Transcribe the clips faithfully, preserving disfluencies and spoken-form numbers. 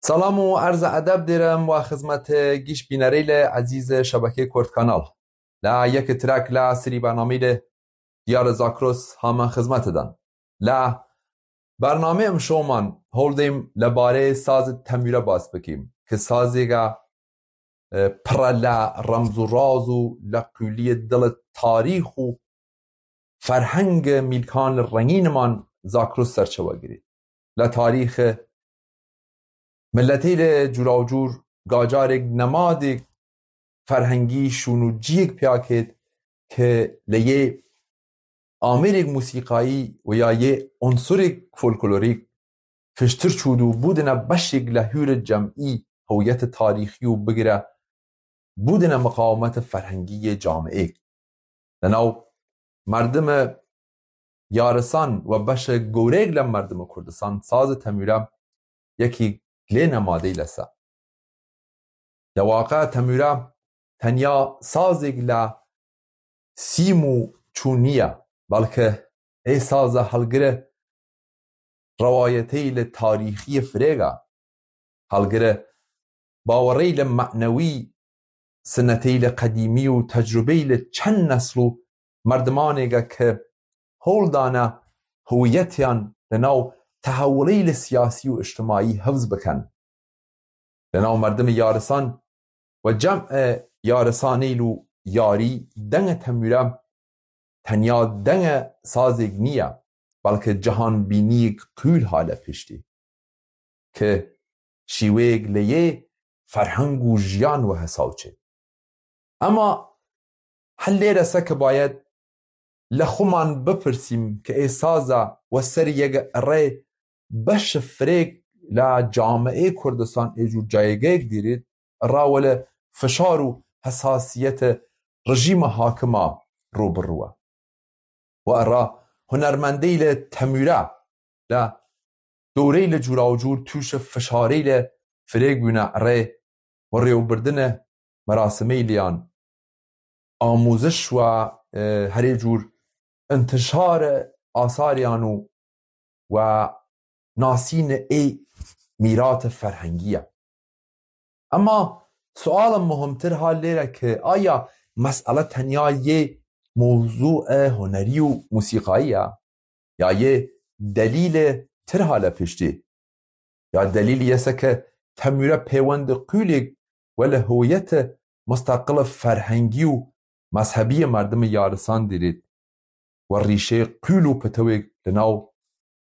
Salam û erza edeb dêrim wa xizmete gîş bînerêyle ezîze şebekê Kurt Kanal. La yek trek la sirî bernamîle Diyar Zakros hamen xizmete dan. La bernamê em şoman holdêm le barê sazê temûre bas bikîm, ki sazêga, e, pira la remz û raz û le qûliyê dile tarîx û ferhenge mîlkan rengîniman Zakros serçewe girê. Le tarîxe milletê le cûra û cûr gacarêk nemadêk ferhengî şûn û ciyêk piya kêt ke le yê amêrêk musîqayî û ya yê unsurêk folklorîk fiştir çûd û bûdine beşêk le hûre cemî hewiyete tarîxî û bigire bûdine miqawimete ferhengî yê camêk. Li nav merdime yarisan we beşe goreyek le merdime Kurdistan sazê temûre yekî lê nemadey lese. Dewaqe temûre tenya sazêk le sîm û çû niye, belke ê saze helgire rewayetey le tarîxî firêga, helgire bawerey le menewî, sinetey le qedîmî û tecrubey le çend nesl û merdimanêga ke hol dane hewiyetiyan li nav tehewuley le siyasî û îctimaî hifz bikin. Li nav merdimê yarisan we cem e yarisanîl û yarî denge temûre tenya denge sazêk niye, belke cihanbîniyek qûl hale piştî, ke şîweyek le yê ferheng û jiyan we hesaw çê. Ema hel lêre se ke bayed le xuman bipirsîm ke ê saza we serî yege rê beşe firêk la cameyê Kurdistan ê cû cayegeyek dîrît, ra wele fişar û hesasiyete rejîma hakima rû bi rû e. Û ra hunermendey le temûre le dewrey le cûra û cûr tûşe fişarey le firêk bûne rê û rêwbirdine merasimey liyan amûziş we, e, herê cûr intişare asariyan û we nasîne ê mîrate ferhengî ye. Ema suala muhimtir ha lêre ki aya mesele tenya yê mewzûe hunerî û musîqayî ye, ya yê delîle tir hale piştî? Ya delîl yese ke temûre pêwende qûlêk wele hewiyete mustaqile ferhengî û mezhebî yê merdimê yarisan dîrît we rîşeyê qûl û pitewêk li nav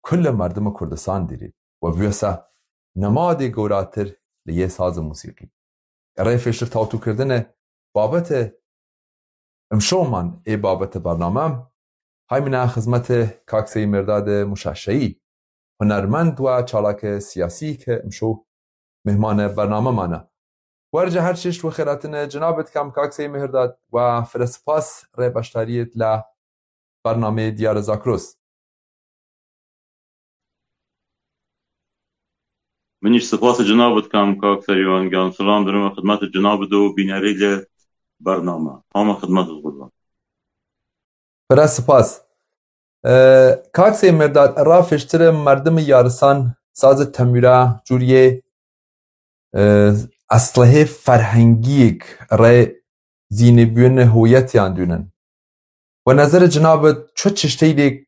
kule merdimê Kurdistan dîrît we bûyese nemadê gewratir li yê sazê musîqî. Rê fêştir tawtûkirdine babete imşoman ê babete bername, hay min a xizmete kak Seyî Mêrdade Muşaşeyî, hunermend we çalake siyasî ke imşo mêhmane bername mane. Werce her çeşt we xêratine cenabê dikam kak Seyî Mêrdad we fire spas rê beşdariyêt la bernameyê Diyar Zakros. Min îş spas cenab dikim kak Serîwan giyan. Silam dirim xidmet cenab do bînerê li bername. Hama xidmet qurban. Pire spas. E, kak Seyî Mêrdad, ra fêştire merdimê yarisan sazê temûra cûriyê, e, eslehê ferhengiyêk rê zînîbûyine hewiyetiyan dûnin. We nezerê cinabit çi çişteyêk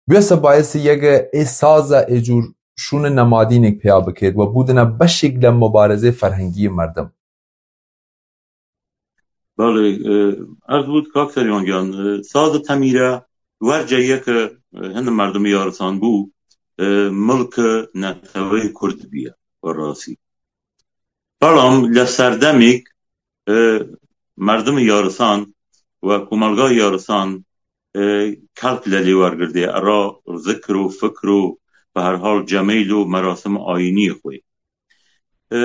bûyese bayesî yege ê saza ê cûr şûne nemadînêk pêya bikêt we bûdine beşêk le mubarezê ferhengî yê merdim? Belê, e, erz bût kak Serîwan giyan, e, saza temîre werce yeke, e, hindê merdimê yarisan bû, e, milke neteweyê Kurd bûye, bi rastî. Belam li serdemêk, e, merdimê yarisan we komelga yarisan, e, kelk li lê wergirtê, era zikr û fikr û bi her hal cemeyl û merasim ayîniyê xwe. E,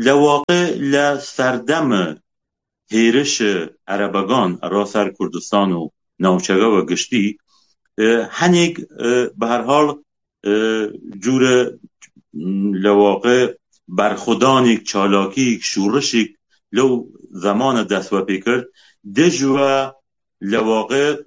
li waqê li serdeme hêrişê erebegan era ser Kurdistan û navçege ve giştî, e, henêk, e, bi her hal, e, cûre, m, li waqê berxwedanêk, çalakîk, şûrişêk lew zemane dest we pê kir, dij we li waqê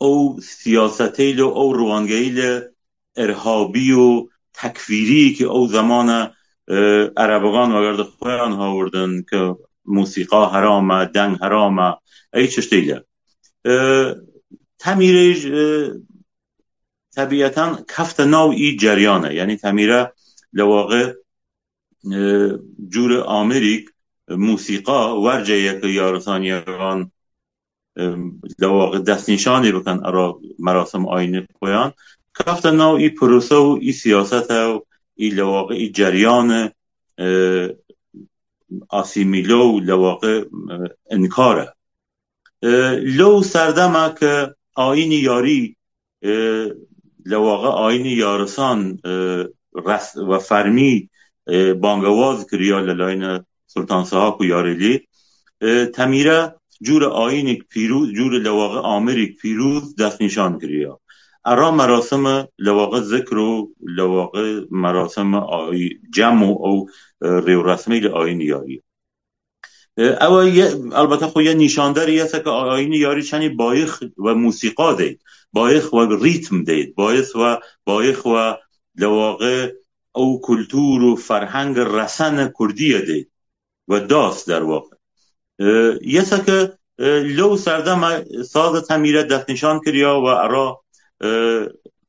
ew siyaseteyê li ew riwangeyî li irhabî û tekfîrî ki ew zemane e, erebigan vegerdi xweyan hawirdin ki musîqa heram e, deng heram e, ey çiştê le. E, Temîrê, e, tebîetan kefte nav î ceryan e. Yanî Temîre li waqê, e, cûrê amirîk, e, musîqa werce yeke yarisaniyegan, e, li waqê destnîşanê bikin era merasim ayînê xweyan. Kefte nav î pirose û î siyasete û î li waqê î ceryane, e, asîmîle û li waqê, e, inkar e. E, Lew serdema ke ayînî yarî, e, li waqê ayînî yarisan, e, res-, ve fermî, e, bangewaz kiriya li layine Sultan Sihak û Yarêlî. E, Temîre cûre ayînîk pîrûz, cûre li waqê amirîk pîrûz destnîşan kiriya. Era merasime li waqê zikr û li waqê merasime ayî-, cem û ew, e, rêwresmê li ayînî yarî. E, ew ye, elbette xwe ye nîşanderî ye seke ayînî yarî çenî bayix ve musîqa de, bayix ve rîtm de, bayix ve, bayix ve li waqê ew kultur û ferheng resene Kurdiye de ve das derwaxe. E, ye seke, e, lew serdeme saze Temîre destnîşan kiriya ve era, e,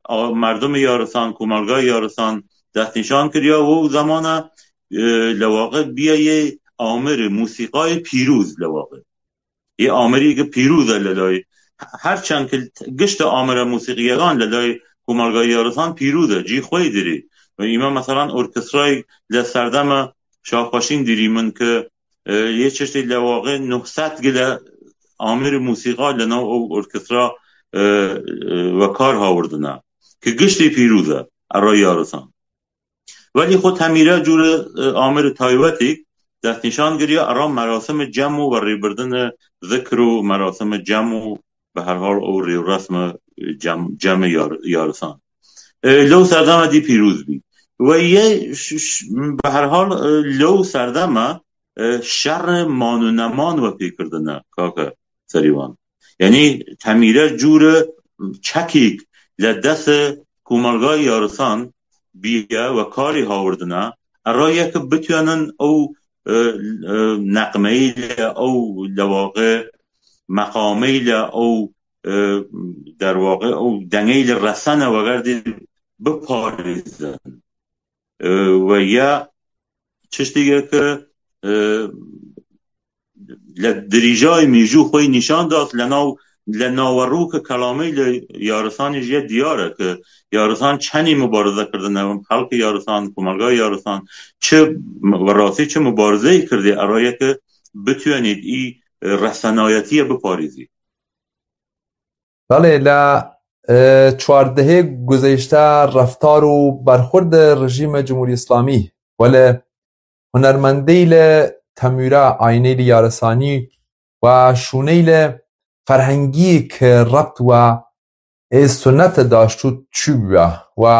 a-, merdimê yarisan, komelgayê yarisan destnîşan kiriya û zemana, e, li waqê biye yê amir musîqayê pîrûz li waqê. Yê amirî ki pîrûz e li layê. Her çend ki gişte amire musîqiyegan li layê komelgayê yarisan pîrûz e, cî xwe yê dirî. Ve îme meselan orkestrayê li serdeme Şahxweşîn dirî min ki, e, yê çiştê li waqê nuh sed gile amir musîqa li nav ew orkestra, e, e, ve kar hawirdine. Ki giştê pîrûz e, era yarisan. Welî xwe Temîre cûre, e, amir taybetî destnîşan kiriya, era merasime cem û ve rêbirdine zikr û merasime cem û bi her hal ew rêwresme cem, cemê yar-, yarisan. E, lew serdeme dî pîrûz bî. Ve yê ş-, ş-, bi her hal, e, lew serdeme, e, şerê man û neman ve pê kirdine, kake Serîwan. Yanî Temîre cûre çekîk li destê komelgayê yarisan bîye ve karî hawirdine, era ye ki bitûnin ew, e, e, neqmeyî li ew li waqê meqameyî li ew, e, derwaqê ew dengeyî li resene vegerdî biparêzin. E, ve ya çiştî ye ki, e, li dirîjayê mîjû xwe nîşan da, li nav, li naverok kelamê li yarisanê jî ye diyar e ki yarisan çenî mubarize kirdine, xelkê yarisan, komelgayê yarisan, çi bi rastî çi mubarizeyê kirdî, era ye ki bitûnît î resenayetiyê biparêzî. Belê, li, e, çardehê guzeyşte reftar û berxwirde rejîme Cumhurî Îslamî, welê hunermendê li Temûra, ayînê li yarisanî û şûnê li ferhengî ke rebt we ê sunete daştû çû bûye we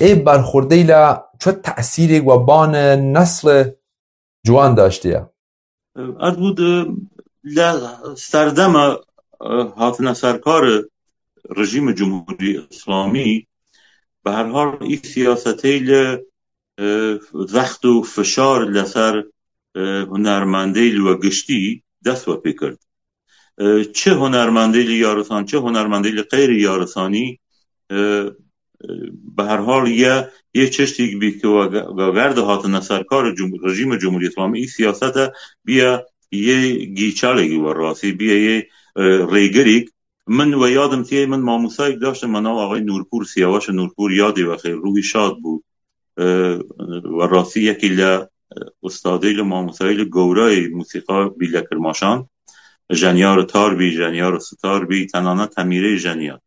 ê berxwirde li çi tesîrê we bane nesle ciwan daştiye? Ez bû di, li serdema, e, hatine serkar rejîmê Cumhurî Îslamî, bi her hal î siyasetê li, e, zext û fişar li ser, e, hunermendê li we giştî dest we pê kir. E, çi hunermendê li yarisan, çi hunermendê li qeyrî yarisanî, e, e, bi her hal ye, yê çiştîk bî ki we ge-, we gerde hatine serkar cum-, rejîmê Cumhurî Îslamî, î siyasete biye yê gîçalek we rastî, biye yê, e, rêgirîk. Min we yadim tiyê min mamosayek daştim, me nav axay Nûrpûr, Siyaweş Nûrpûr, yadê we xêr, ruhî şad bû. E, we rastî yekî li, e, ustadê li mamosayê li gowrayê musîqa bî li Kirmaşan. Jenyar tar bî, jenyar sitar bî, tenane temîrê jenyar.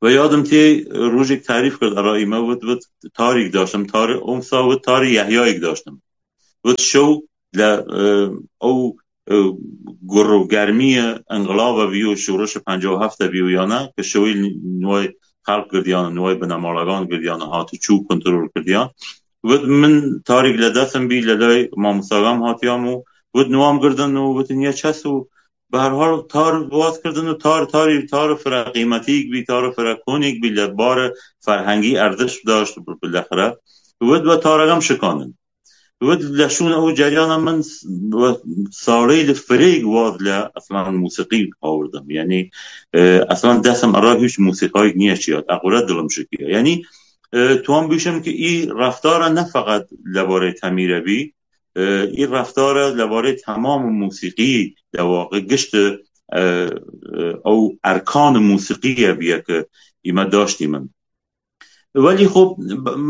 Ve yadim tê rojek tarîf kir, erayî me vit, vit tarîk daştim, tarî, omsa vit tarî Yehyayek daştim. Vit şew li, e, ew, e, gur û germiye inqilaba bî û şoreşa penca û heft bî û yana, ki şewê nûay xelq girdiyan, nûay binemalagan girdiyan, hati çû kontrol kirdiyan. Vit min tarîk li destim bî, li lay mamostagan hatiyam û vit nûam girdin û vit niye çes û bi her hal tar waz kirdin û tar, tarî, tar fira qîmetîk bî, tar fira konîk bî, li bar ferhengî erdiş daşt bi, bilexre. Wid we taregem şikanin. Wid leşûn ew ceriyana min s-, we salê li firêg waz le eslan musîqî hawirdim. Yanî, e, eslan desim era hiç musîqayek niye çiyat. Equre dilim şikiya. Yanî, e, tuwan bişim ki î reftara ne feqet lebarê Temîre bî, e, î reftara lebarê temam musîqî de waqi gişt, e, e, ew erkan musîqîye biye ki îme daştî min. Welî xwe,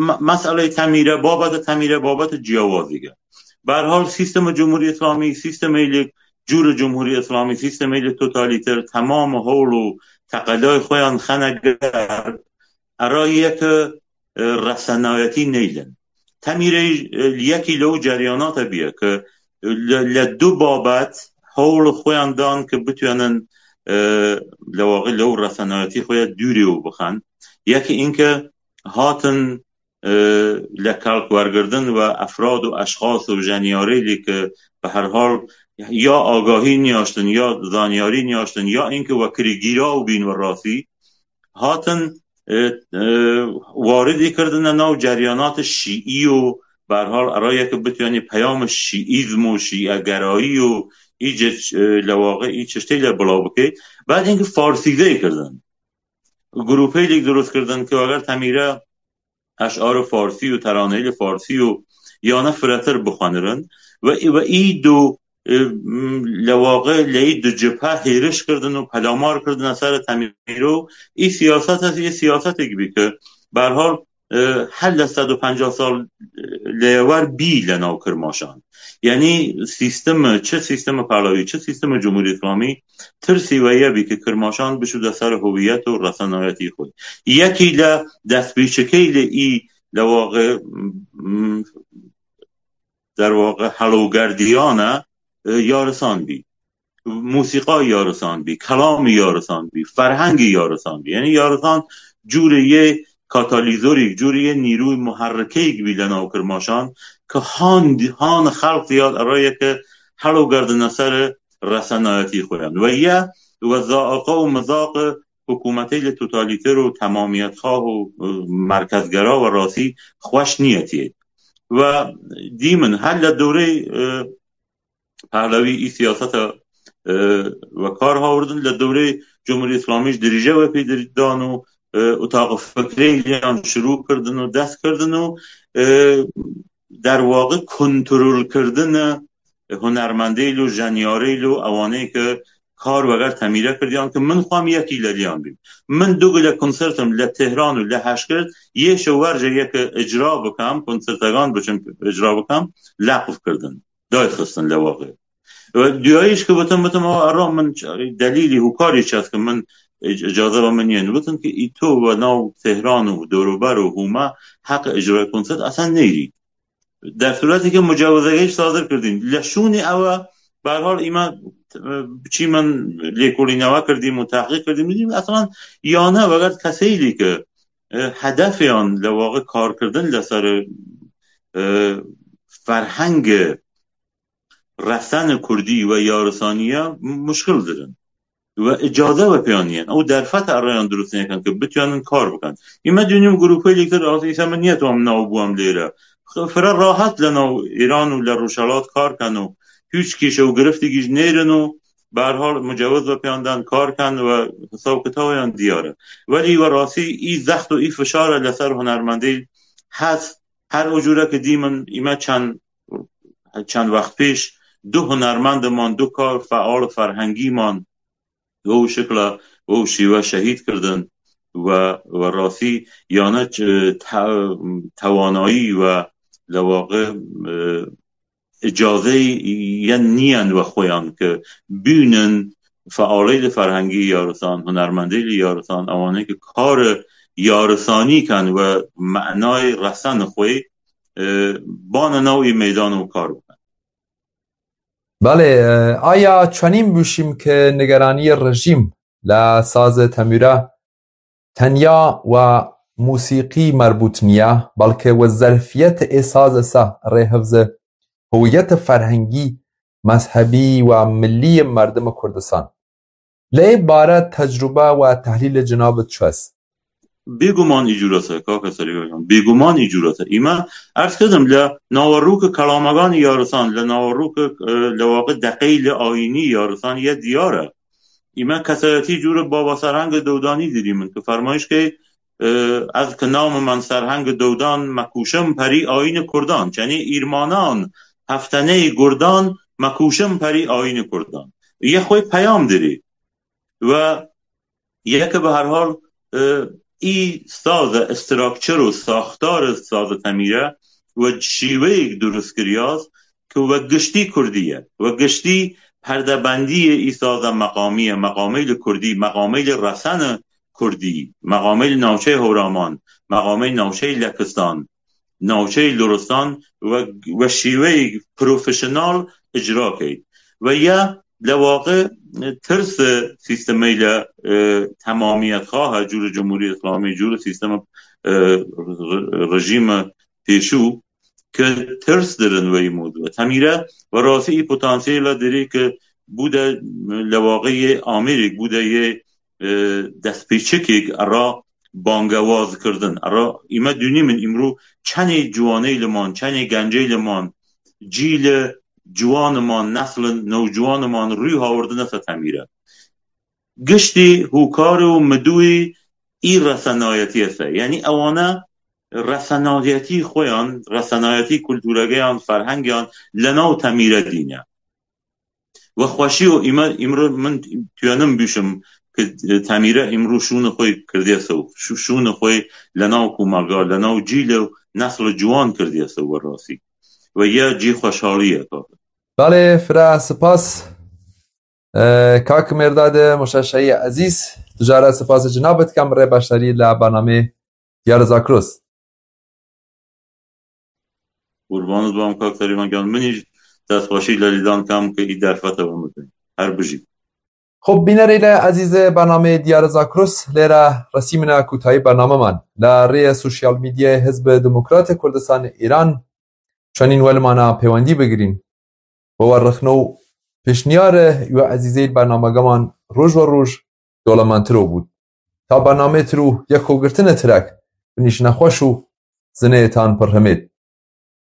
me-, meseleyê Temîre, babeta Temîre, babeta ciyawazî ye. Berhal sîstema Cumhurî Îslamî, sîstemê li cûrê Cumhurî Îslamî, sîstemê li totalîter, temam hewl û teqelayê xwe yan xene ger, erayî ye ki, e, resenayetî neylin. Temîre, e, li yekî lew ceryanate biye ki, e, li, li du babet hewl xwe yan dan ki bitûnin, e, lewaqî lew resenayetî xwe ya dûrê û bixen. Yekî înke hatin, e, li kalk wergirdin we efrad û eşxas û jeniyarê lê ki bi her hal ya agahî niyaştin, ya zanyarî niyaştin, ya înke we kirî gîraw bîn we rastî, hatin, e, e, waridî kirdine nav ceryanatê şîî û berhal erayeke bitûyanî peyama şîîzm û şîegerayî û î cir, e, lewaqê î çiştê le bila bike. Bad înke farsîzeyê kirdin. Grûpeylik dirust kirdin ki eger Temîre eşarê farsî û teraneyê li farsî û yana firetir bixwenirin ve, ve î du, e, m, lewaqê leyî du cibhe hêriş kirdin û pelamar kirdine ser Temîro. Î siyaset ez ê siyasetek bî ki berhal, e, helle sed û pencah sal, e, leyewer bî le nav Kirmaşan. Yanî sîstemi, çi sîstemi Pehlavî, çi sîstemi Cumhurî Îslamî tirsî we ye bî ki Kirmaşan bişûde ser howiyet û resenayetî xwe. Yekî le destpêçikey li î lewaqê, m, derwaqê helogerdiyane, e, yarisan bî. Musîqa yarisan bî, kelamî yarisan bî, ferhengî yarisan bî. Yanî yarisan cûrê yê katalîzorîk, cûrê yê nîrûyê muherrikeyek bî li nav Kirmaşan ki han, han xelq diyar erayeke helogerdine ser resenayetî xwe yan. Ve ye, ve zaiqa û mizaqê hikûmetê li totalîter û temamiyetxwah û, e, merkezgera we rastî xweş niyetiyê. Ve dî min her li dewrê, e, Pehlavî î siyaseta, e, we kar hawirdin, li dewrê Cumhurî Îslamî jî dirîje we pê dir-, dan û, e, û taqî fikrê yan şirû kirdin û dest kirdin û, e, derwaqî kontrolkirdine hunermendê lo, jenyarê lo, ewanê ki kar weger Temîre kirdiyan ki min xwam yekî leriyan bîm. Min du gule konsertim li Tehran û li Heşkir, yê şewerje yeke icra bikem, konsertegan biçim icra bikem, leqv kirdin. Dayxistin lewaqê. Ve duyayîş ki bitim, bitim, "Aa, erra min ç-, delîlî hûkarî çet ki min ic-, icaze ve min yên." Bitim ki î to ve nav Tehran û dorûber û hûme heq icra konsert esen neyî. Dersuretê ki mucawizegehî sadir kirdîn. Leşûnî ew e, berhal îme, e, çî min lêkolînewe kirdîm û tehqîq kirdîm. Dîm eslan yane veger keseyî ki, e, hedefê yan lewaqê kar kirdin li ser, e, ferhengê resen kurdî ve yarisaniye muşkil dirin. Ve icaze ve pêyan yên. Ew derfet ereyan dirust nekin ki bitûnin kar bikin. Îme dûnim grûpê lîktir az îse min niyet wam nav bûm lêre. Fire rahat le nav Îran û le Rojhelat kar ken û hiç kîşe û giriftikî ji nêrin û berhal mucewiz ve pêyan den kar ken ve hisaw kitawê yan diyar e. Welî we rastî î zext û î fişar e leser hunermendê hez her o cûre ki dîmin îme çend çend wext pêş du hunermendiman, du kar feal ferhengîman, wew şikla, wew şîwe şehîd kirdin ve, ve rastî yane ç-, te-, tewanayî ve lewaqê, e, icazeyê yen niyen ve xweyan ki bînin fealê li ferhengî yarisan, hunermendê li yarisan, ewanê ki karê yarisanî ken ve menayê resen xwe, e, bane nav î meydan û kar bikin. Belê, e, aya çenîn bûşîm ki nigeraniyê rejîm le sazê Temûre tenya we musîqî merbût niye, belke we zerfiyetê ê sazê se rê hifzê howiyetê ferhengî, mezhebî we millî yê merdimê Kurdistan. Lê bare tecrube we tehlîlê cenabê çi est? Bêguman î cûrete, kake Serî Hocam, bêguman î cûrete. Îme, erz kidim, le nawerûke kelameganî yarisan, le nawerûke, e, le waqi deqeyli ayînî yarisan ye diyar e. Îme kesayetî cûre baba serhenge dewdanî dirî min, ki fermayîş key, e, ez ki namim en serhenge dewdan, me kûşim perî ayînê kurdan. Çenê îrmanan, hefteneyê gurdan, me kûşim perî ayînê kurdan. Ye xwê peyam dirî. Ve yeke bi her hal, e, î saze, structure û saxtare saze temîre ve şîweyek durust kiriyaz ki ve giştî kurdî ye. Ve giştî perdebendiyê î saze meqamî ye. Meqameyli kurdî, meqameyli resene kurdî, meqameyli navçeyê Hewraman, meqameyli navçeyê Lekistan, navçeyê Luristan ve, ve şîweyek profesyonel icra key. Ve ya le waqi tirs sîstemeyle, e, temamiyetxwahe, cûrê Cumhurî Îslamî, cûrê sîsteme, e, re-, rejîme pêşû, ki tirs dirin weyî mewdû. Temîre ve rastî î potansiyela dirî ki bû de, le waqi yê amêrek, bû de yê, e, destpêçikek era bangewaz kirdin. Era îme dûnî min îmrû çenê ciwaney li man, çenê gencey li man, cîle ciwan man, neslin newciwan man rûy hawrdine se temîre. Giştî hûkarê û midûyî î resenayetî se. Yanî ewane resenayetî xweyan, resenayetî kulturegeyan, ferhengeyan le nav temîre dîne. Ve xweşî û îme, îmrû min tuyenim bîşim ki temîre îmrû şûnê xwe kirdiye sew. Şû-, şûnê xwe le nav komelga, le nav cîl û nesl ciwan kirdiye sew ve rastî. Ve ye cî xweşhalî ye, kaka. Belê, fira spas. E, kak Mêrdade Moşeşeyî Ezîz, tu jara spas cinab dikem rê başdarî le bernamê Diyar Zakrus. Qurbanî bam kak Serî Hocam, min îş destxweşî le lîdan kam ki î derfete ve min. Her bijî. Xub, bînerê le ezîzê bernamê Diyar Zakrus, lêre resîmine kûtayî bernameman. Le rêye sosyal medyayê Hizb Demokratê Kurdistan Îran çenîn welimana pêwendî bigirîn. Bi we rixne û pêşniyare we ezîzê bernamegeman roj we roj dolementir û bût. Ta bernamê tir û yekogirtine tirek binîşine xweş û zineyê tan pir himêt.